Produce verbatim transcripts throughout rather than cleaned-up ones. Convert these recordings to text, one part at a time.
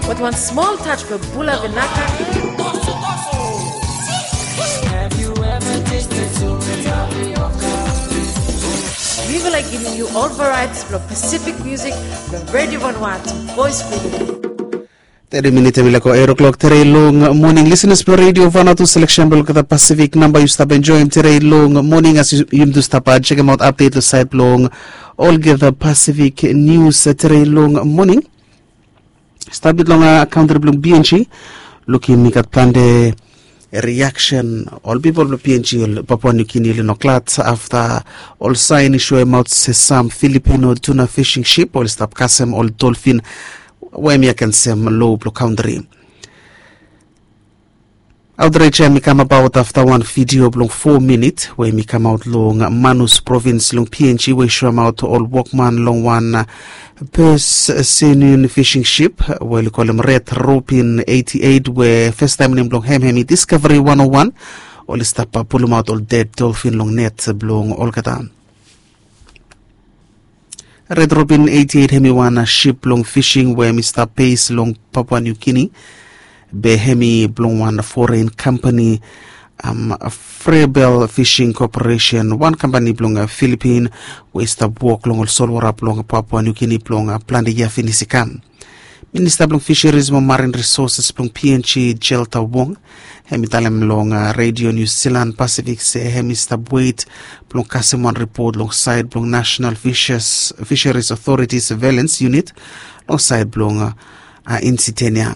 But one small touch for Bula Vinaka. Mivela giving you all varieties of Pacific music from Radio Vanuatu, Voice Freedom. Teri minit em i lako ero klok teri long moning listeners blong Radio Vanuatu selection blong olgeta Pacific namba yu stap enjoim teri long moning as yum tu stap chekem aut update long sait blong olgeta Pacific news teri long moning. Stap bit long kantri blong PNG. Lukim i gat plante reaction ol pipol blong PNG ol Papua New Guinea oli no glad afta ol sain i soemaut se sam Filipino tuna fishing ship oli stap kasem ol dolphin we em i agensem lo blong kantri. Outrage em i kamabaot afta wan vidio blong fo minit we em i kamaot long Manus provins long PNG we i soemaot ol wokman long wan Purse Senior fishing ship we oli kolem Red Robin eighty eight we festaem nem blong hem hem i Discovery one oh one. Oli stap pulumaot ol ded dolphin long net blong olgeta. Red Robin eighty eight hem i wan ship blong fishing we em i stap base long Papua New Guinea. Be hem i blong wan foreign company um, Frebel Fishing Corporation, wan kampani blong Filipin we i stap wok long ol solwara blong Papua New Guinea blong plante yia finis i kam. Minista blong Fisheries mo Marine Resources blong PNG, Jelta Wong, hem i talem long Radio New Zealand Pacific se hem i stap wet blong kasem wan ripot long sait blong National Fisheries Authority Surveillance Unit long sait blong Insitenia.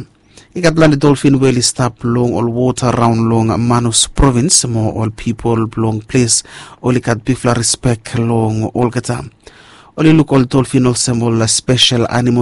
I gat plante dolphin we oli stap long ol wota raon long Manus provins mo ol pipol blong ples oli gat bigfala rispek long olgeta. Oli luk ol dolphin olsem ol spesel animal